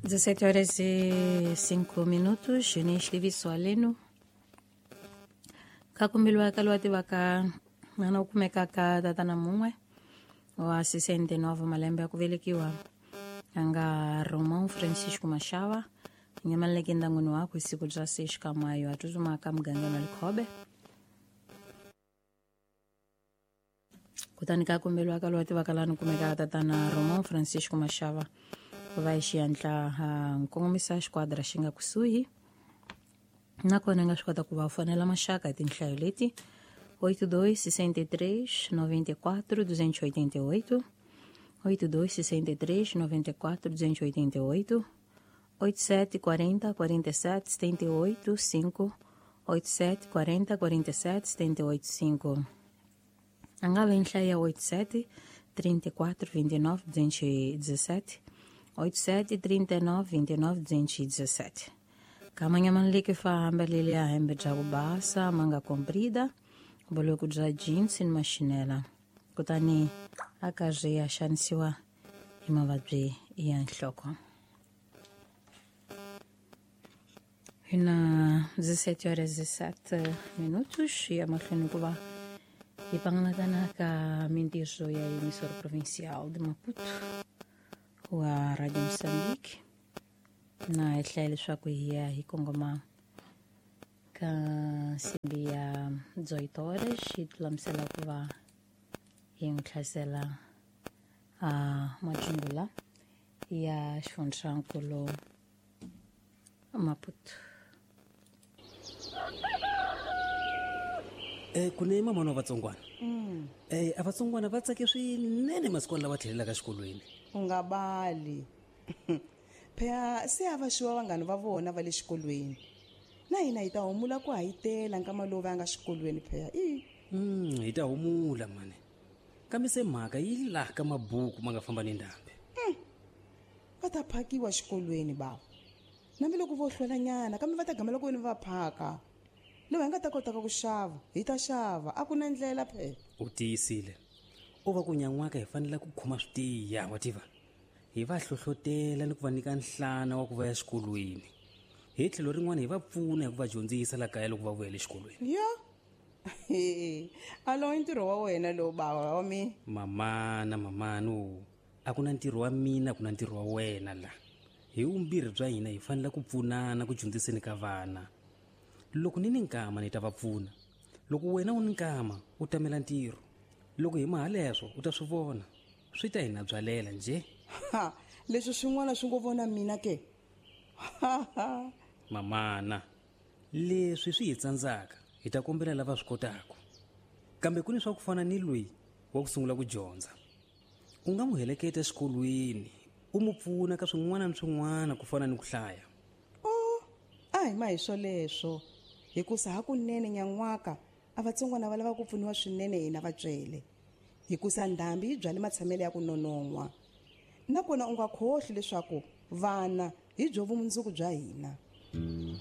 17 horas e 5 minutos ni xitiviso halenu ka kumbiwa ka loyi a tivaka n'wana u kumekaka tatana mun'we wa 69 malembe ya ku velekiwa a nga Romão Francisco Machava nyamaleke ndyangwini wakwe siku bya 6 ka mayo a tsutsumaka mugangeni wa Likhobe. Kutani ka komberiwa ka loyi a tivaka laha ni kumekaka tatana Romão Francisco Machava ku va hi xihatla nkongomisa xiquadra xi nga kusuhi, nakona nga swi kota ku va fonela maxaka hi tinhlayo leti 82 63 94 288, 82 63 94 288, 87 40 47 78 5, 87 40 47 78 5. A nga ve nhlayo ya 87 34 29 217, 87 39 29 217. Kamanya fa hambelele ya hembe bya ku basa ma nga comprida, boloko bya jeans ni maxinela, kutani a karhi a xanisiwa hi mavabyi ya nhloko. Hi na 17 horas e 7 minutos ya mahlweni ku va hi pangalatana ka mintirho ya emissora provincial de Maputo wa Radio Moçambique, na hi hlaya leswaku hi ya hi kongoma ka nsimbi ya 18 horas hi lulamisela ku va hi n'wi hlasela a majungula ya xifundzankulu Maputo. Ku ne mamana wa vatsongwana, a vatsongwana va tsake swinene masikwana lava tlhelelaka exikolweni. U nga bali phela, se a va xiwa vanghani va vona va le xikolweni, na hina hi ta humula ku hayitela nkama lowu va nga xikolweni phela i. Hi ta humula mani, kambe se mhaka yi laha ka mabuku ma nga famba ni ndhambi. Va ta phakiwa xikolweni bawo, nambi loko vo hlwelanyana, kambe va ta gamela ku veni va phaka. Lowu hi nga ta kotaka ku xava hi ta xava, a ku na ndlela phela. U tiyisile, u va ku nyan'waka hi fanele ku khoma swi tiya, wa tiva, hi va hlohlotela ni ku va nyika nhlana wa ku va ya xikolweni, hi tlhelo rin'wana hi va pfuna hi ku va dyondzisa la kaya loko va vuyela exikolweni. Ya, alowu i ntirho wa wena lowu, bawa wa mina. Mamana, mamana, o a ku na ntirho wa mina, a ku na ntirho wa wena la. Hi vumbirhi bya hina hi fanele ku pfunana ku dyondziseni ka vana. Loko ni ni nkama ni ta va pfuna, loko wena u ni nkama u tamela ntirho. Loko hi mahaleswo u ta swi vona swi ta hi na byalela njhe. Ha, leswi swin'wana swi ngo vona mina ke. Mamana, leswi swi hi tsandzaka hi ta kombela lava swi kotaka, kambe ku ni swa ku fana ni loyi wa ku sungula ku dyondza, u nga n'wi heleketa exikolweni u n'wi pfuna ka swin'wana ni swin'wana ku fana ni ku hlaya. O a hi ma hi swoleswo, hikusa hakunene nyan'waka a vatsongwana va lava ku pfuniwa swinene hina vatswele, hikusa ndhambi yi byale matshamelo ya ku nonon'hwa, nakona u nga khohli leswaku vana hi byo vumundzuku bya hina.